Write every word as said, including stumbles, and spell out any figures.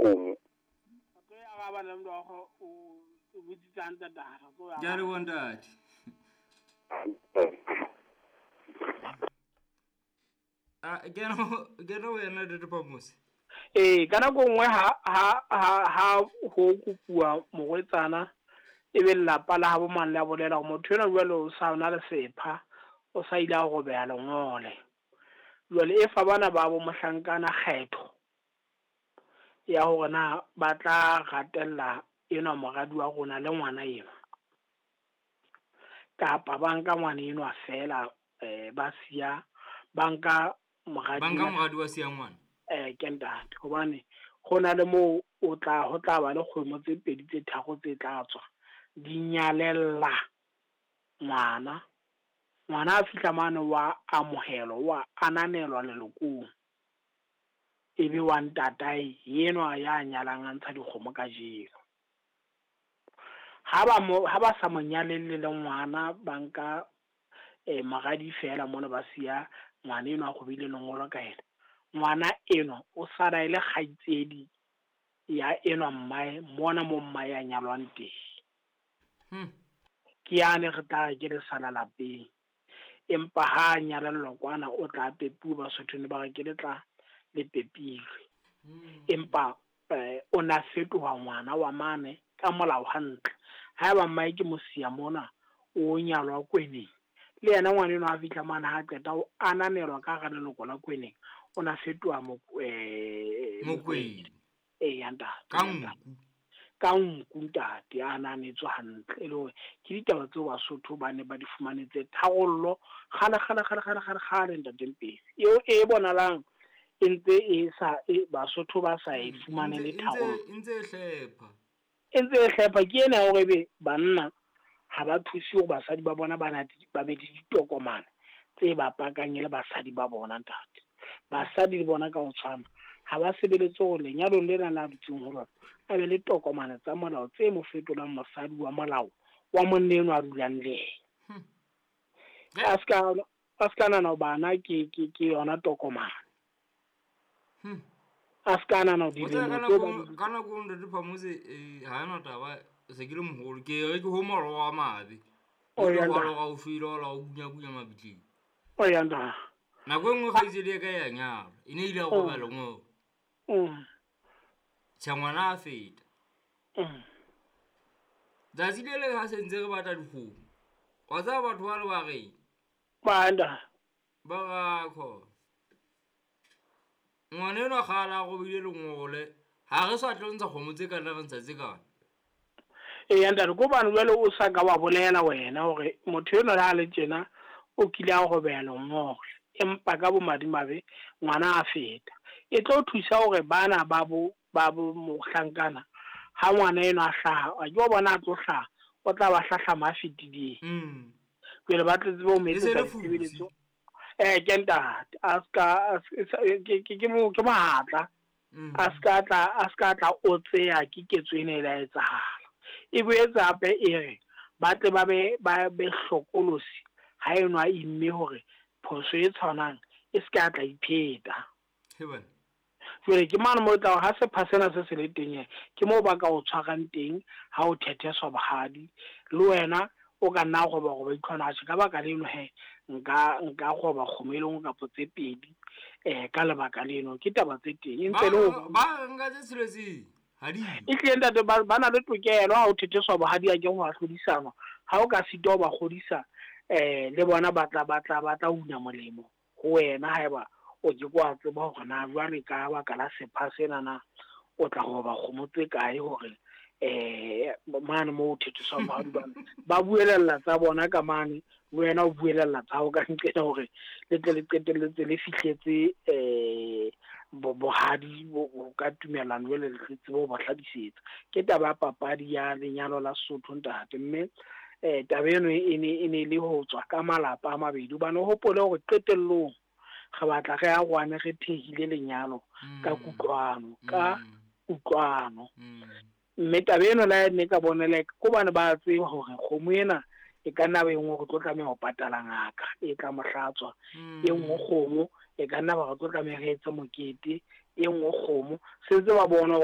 kgomo. Ke a leboha ntate. A kena kena wena Ntate Phamose. Ee, ka nako nngwe ha ha ha ha ho kopuwa morwetsana e be lelapa la habo mang le a bolela hore motho enwa jwale o sa na le sepha, o sa ile a robeha lengole. Jwale e fa bana ba bo mohlankana kgetho ya hore na ba tla ratella enwa moradi wa rona le ngwana enwa, kapa ba nka ngwana enwa feela, eh ba siya ba nka moradi Ba nka moradi wa siya ngwana. Eh ke ntate, hobane ho na le moo o tla ho tla ba le kgomo tse pedi tse tharo tse tla tswa di nyalella ngwana. Ngwana a fihla mane wa amohelwa, wa ananelwa lelokong, ebe wa ntatae enwa ya nyalang a ntsha dikgomo kajeno. Ha ba mo ha ba sa mo nyalelle le ngwana, ba nka eh moradi feela mona ba siya ngwana enwa a robile lengolo ka yena. Ngwana enwa o sala e le kgaitsedi ya enwa mmae mona mo mmae a nyalwang teng. Hmm. Ke yane re tla ke le sala lapeng, empa ha a nyalellwa kwana o tla pepuwa, Basotho ne ba re ke le tla le pepilwe. Empa eh, o na fetoha ngwana wa mane ka molao hantle. Haeba mmae ke mosiya mona o nyalwa kweneng, le yena ngwana enwa a fihla mane ha qeta o ananelwa ka hara leloko la kweneng, o na fetoha eh Mokwena. Ee, ya ntate. Ka nku. Ka nku ntate, a ananetswe hantle. E le hore ke ditaba tseo Basotho ba ne ba di fumanetse tharollo kgale kgale kgale kgale kgale kgale ntate Mpesi. Eo e bonalang e ntse e sa e Basotho ba sa e fumane le tharollo. E ntse e hlepha. E ntse e hlepha ke ena ya hore ebe banna ha ba thuse hore basadi ba bona ba na ba be le ditokomane tse ba pakang e le basadi ba bona ntate. Basadi le bona ka ho tshwana ha ba sebeletse hore lenyalong lena la dutseng ho lona a be le tokomane tsa molao tse mo fetolang mosadi wa molao wa monna enwa a dulang le yena. A ska a ska nahana bana ke ke ke yona tokomane. Hmm. A ska nahana O tseba dilemo ka tseo ba nako di ka nako Ntate Phamose eh ha ena taba se ke le moholo ke re ke ho moro wa mabe. O ya O ntate. wa o shwele ola o bunya bunya mabitleng. O ya ntate. Nako e nngwe kgaitsedi ya ka ya nyalwa, e ne ile ya roba lengolo. Mm. Tjhe, ngwana a feta. Mm. Tsatsi le leng ha se ntse re batla dikgomo, wa tseba batho ba le ba reng? Ba ntate. Ba ra khona. Ngwana enwa kgale a robile lengole, ha re sa tlo ntsha kgomo tse kana re ntsha tse kana. Ee, ntate, ko bane jwale o sa ka wa bolela wena hore motho enwa le ha le tjena o kile a robeha lengole, empa ka bomadimabe ngwana a feta. E tlo thusa hore bana ba bo ba bo mohlankana ha ngwana enwa a hlaha, a ke wa bona a tlo hlaha, o tla ba hlahlama a fetileng. Mm. Jwale ba tle tsebe ho mo E se etsetsa le fusi. ditshebeletso. Eh ke ntate, a ska ke ke ke mo ke mohatla. Mm. A ska tla a ska tla o tseya ke ketso ena e la etsahala. E boetse hape e re ba tle ba be ba be hlokolosi ha enwa imme hore phoso e tshwanang e se ka tla ipheta. He bana. Jwale ke mane moo tla ha sepha sena se se le teng, ke moo ba ka o tshwarang teng ha o thetheswa bohadi, le wena o ka nna roba roba itlhwana atjhe ka baka leno he nka nka roba kgomo e le nngwe kapa tse pedi eh ka lebaka leno. Ke taba tse teng e ntse le ho Ba nka tse tsheletseng ha di. E hlile ntate ba ba na le tokelo ha o thetheswa bohadi a ke ho hlodisanwa. Ha o ka sitwa ho ba kgodisa eh le bona ba tla ba tla ba tla una molemo ho wena haeba o ke kwa tseba hore na jwale ka baka la sepha sena na o tla roba kgomo tse kae hore eh mane moo o thetheswang bohadi bana ba buelella tsa bona ka mane, le wena o buelella tsa hao ka nqena hore le tle le qetelletse le fihletse eh bohadi bo ka tumellano jwale le tsebe ho ba hlabisetsa. Ke taba ya papadi ya lenyalo la Sesotho ntate, mme eh taba eno e ne e ne le ho tswa ka malapa a mabedi hobane o hopole hore qetellong re batla re arohane re thehile lenyalo ka kutlwano ka kutlwano. Mme taba eno la ne ka bonela ko bane ba tseba hore kgomo ena e ka nna ba e nngwe re tlo tlameha ho patala ngaka e tla mo hlatswa, e nngwe kgomo e ka nna ba re tlo tlameha re etse mokete, e nngwe kgomo se ntse ba bona hore